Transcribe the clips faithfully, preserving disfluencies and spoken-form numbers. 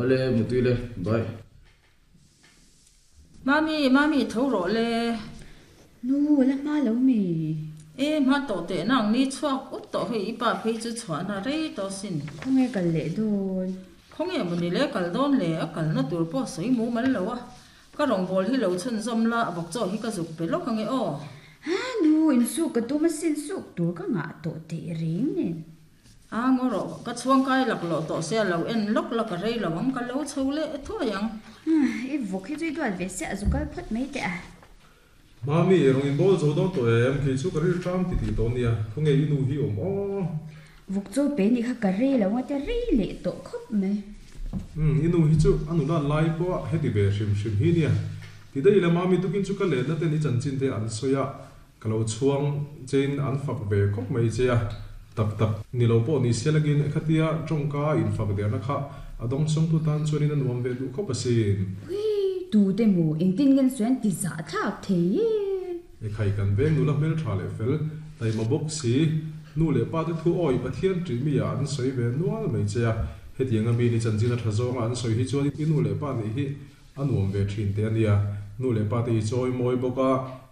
Ole mutui le bye. Mami mami tho ro le. Nu la ma lo mi. E ma to te nang ni chuak ut to hei ipa phei chu chhuana rei to sin. Khonge kal le don. Khonge muni le kal don le a kal na tur po soi mu mal lo a. Ka rong bol hi lo chun zom la bok cho hi ka zuk pe lo khange o. Ha nu in su ka tu ma sin su tur ka nga to te ring nen. A ngo ro ka chuang kai lak lo to se lo en lok la ka rei lawang ka lo chho le thoyang. E vok hi chui dual ve se azukal phot mai te a. Mami rong in bol zo don to em khi chu ka ri tram ti ti to nia khonge inu hi om o. Vok cho pe ni kha ka rei lawa te rei le to khop me. Um inu hi chu anu lan lai po heti ve shim shim hi nia. Ti dei la mami tukin chu ka le na te ni chan chin te an soya ka lo chuang chen an fak ve khop mai che a. Tak tak ni lo po ni selagin khatia tongka in fak der na kha adong song tu tan chuanin an nuam ve du khop asin. Ui tu te mu engtin ngen suan ti za thak the. E khai kan veng nu la mel tha le fel tai ma bok si nu le pa te thu oi pathian tri mi ya an soi ve nual mai che a. Hetianga mi ni chanjina thazawnga an soi hi chuan inu le pa ni hi anuam ve thin te ania nu le pa te hi choi moi boka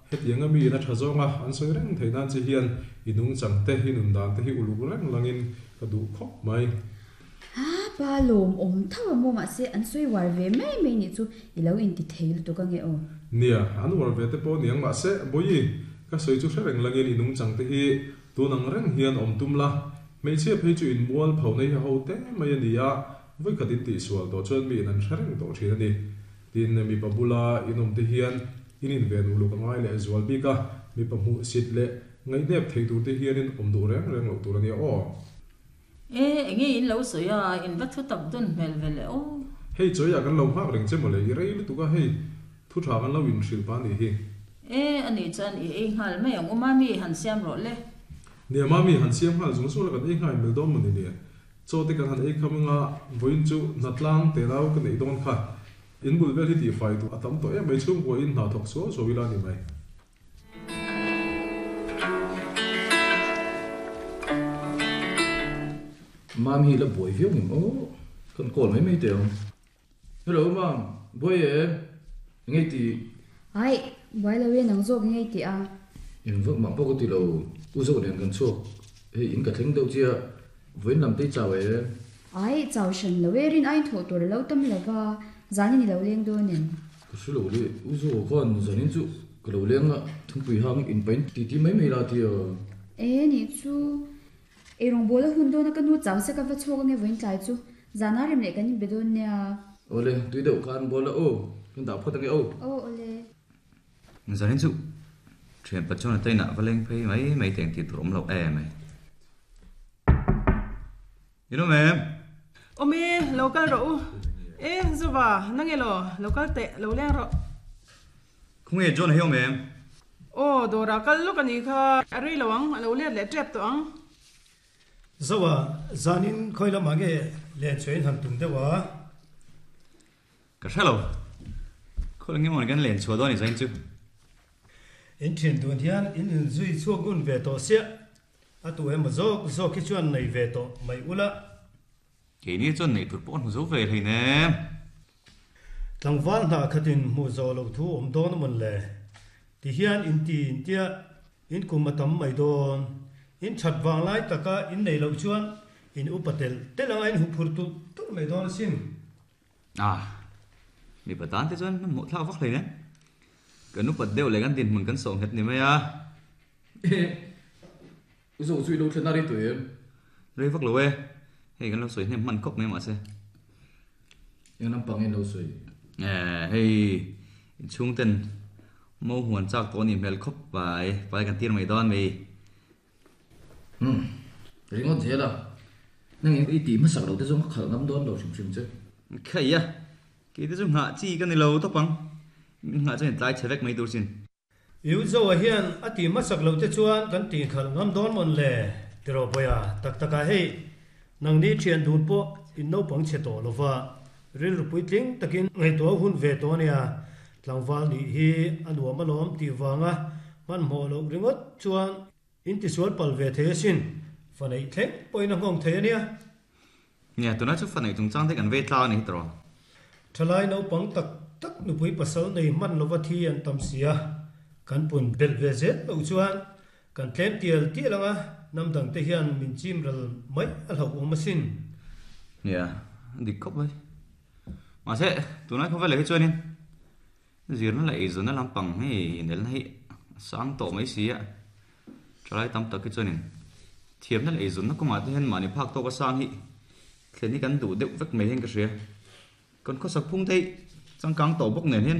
hetianga mi na thazawnga an soi reng theinan chi hian inung changte hi nun dan te hi uluk reng langin ka du khop mai. Ha pa lom om thawa mo ma se an soi war ve mai mai ni chu ilo in ti theil tu ka nge o. Nia an war ve te po niang ma se boi ka soi chu reng langin inung changte hi tunang reng hian om tum la mei che phei chu in mual phau nei ho te mai ania voi khatin ti sual to chuan mi an thareng to thin ani tin mi pabula inom te hian inin ven uluk angai le zual bika mi pamu sit le ngai nep thei tur te hian in om du reng reng lo tur ania o. E nge in lo soya in va thu tak dun mel vele o. Hei choya kan lo hak reng che mole i rei lu tu ka hei thu tha kan lo in hril pa ni hi. E ani chan i ei ngal mai ang umami han siam ro le. Nia mami han siam hal zung zung la kan ei ngai mel dom mani nia cho te kan han ei khamanga voin chu natlang te rau kan ei don kha in bul vel hi ti fai tu atam to e mai chung ko in na thok so so wila ni mai. Mami la boi viu ngim o kan kol mai mai teo. Hello mam boi e ngai ti. Ai boi lo we nang zok ngai ti a. In vok ma po ko ti lo u zo den kan chok he in ka thleng deuh chia voin lam te chaw e. Ai chaw shan lo we rin ai tho tur lo tam lova zani ni lo leng do nen. Ka su lo le u zo khan zanin chu ka lo leng a thungpui hang in pain ti ti mai mai la ti a. E ni chu e rong bola hun do na ka nu chaw se ka va chok nge voin tlai chu zana rem le kan in bedon nia. Ole tui deuh khan bola o kan da phot ange o. O ole zanin chu thian pachona taina valeng phei mai mai teng ti tur om lo e mai. You know ma'am. Omi local ro e zuwa nangelo local te lo leng ro. Khunge John heo ma'am. O dora kal lo kani kha arei lawang lo le le trep to ang. Zawa zanin khoila mange le chain han tum dewa. Ka shalo. Khol nge mon kan len chua do ni zain chu. In thian dun hian in in zui chuak un ve to sia atu em zok zok hi chuan nei ve to mai ula. Ke ni chuan nei tur pon zo ve hlei ne. Tlangwal na khatin mu zo lo thu om don mon le ti hian in ti in tia in kumatam mai don in that wang lai taka in nei lo chuan in upatel telanga in huphur tu tur mai don sin. À mi patan te chuan mo thla vak hlei ne. Kan upat deuh le kan din mun kan song het ni mai a. U zo chui lo thlen na ri tu em. Rei vak lo e. Hei kan lo soi hnem man khop mai ma se. Yang lam pang en lo soi. Eh hei in chung ten mo huan chak to ni mel khop pai pai kan tir mai don mi. Hmm ringot zela. Nang i ti ma sak lo te zong khal ngam don lo sim sim che. Khai ya. Ke te chu nga chi kan ni lo to pang. Nga chuan tlai chevek mai tur sin. Yu zo a hian ati ma sak lo te chuan kan ti khal ngam don mon le tiro boya tak taka hei nang ni thian dun po in no pang che to lova ril rupui tling takin ngai to hun ve to nia tlangwal ni hi anuam alom ti wanga man mo lo ringot chuan in ti sual pal ve the sin fanei thleng poina ngong the ania nia tuna chu fanei chung chang te kan ve tla ni tro Thalai no pang tak tak nupui pasal nei man lova thi an tam sia kan pun bel ve zet lo chuan kan tlem tial tial anga nam dang te hian min chim ral mai a hlo awm asin. Nia dik khawp mai ma se tunai khawvel le hi chuanin zirna la eizawna lampang hei inelna hi sang tawh mai si a thalai tam tak hi chuanin thiamna la eizawnna kawngah te hian mahni phak tawk a sang hi thlen hi kan duh deuh vek mai hian ka hria kan khawsak phung te hi changkang tawh bawk nen hian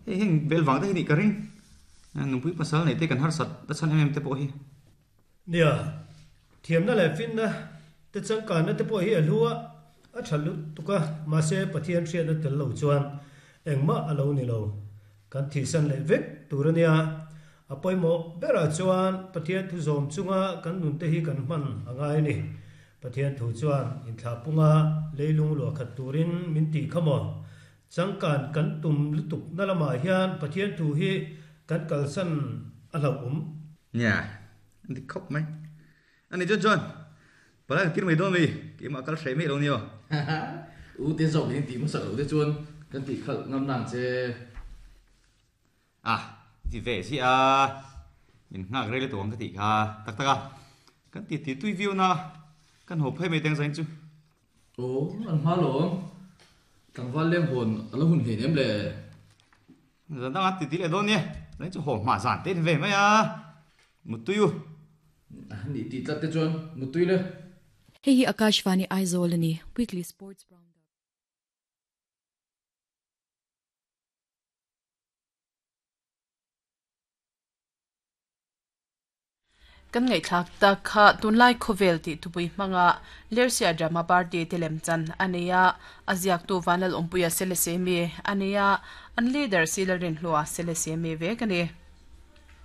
hei heng vel vang te hi nih ka ring nupui pasal nei te kan harsat ta chhan em em te pawh hi. Nia thiamna leh finna te changkanna te pawh hi a hlua a tha lut tuka ma se Pathian hriatna tel lo chuan engmah a lo ni lo kan thisan leh vek tur ania a pawimawh berah chuan Pathian thu zawm chunga kan nun te hi kan hman angai ni. Pathian thu chuan inthla punga leilung luah khat turin min ti khamo changkan kan tum lutuk na lamah hian Pathian thu hi kan kalsan a hlo um. Nia dik khawp mai ani chuan chuan palai kan tir mai dawn mi keimah kal hreh mai lo ni aw. U te zawk in ti hmasak lo te chuan kan tih khalh ngam nang che. Ah ti ve si a min nghak rei le tuang ka tih kha tak tak a kan ti ti tui viau na kan ho phei mai teng zain chu. O an hma lawm tlangval leng hawn a lo hun hlein em le. Zan dang a ti ti le dawn nia zain chu haw hma zan te ni ve mai a mutui u. Ni ti tlat te chuan mutui le. Hei hi Akashvani Aizawl ani weekly sports roundup. Kan ngai thlak ta kha tunlai khovel ti tupui hmanga lersia drama party telem chan ania aziak tu vanal ompuia selesemi ania an leader silarin hlua selesemi ve kani.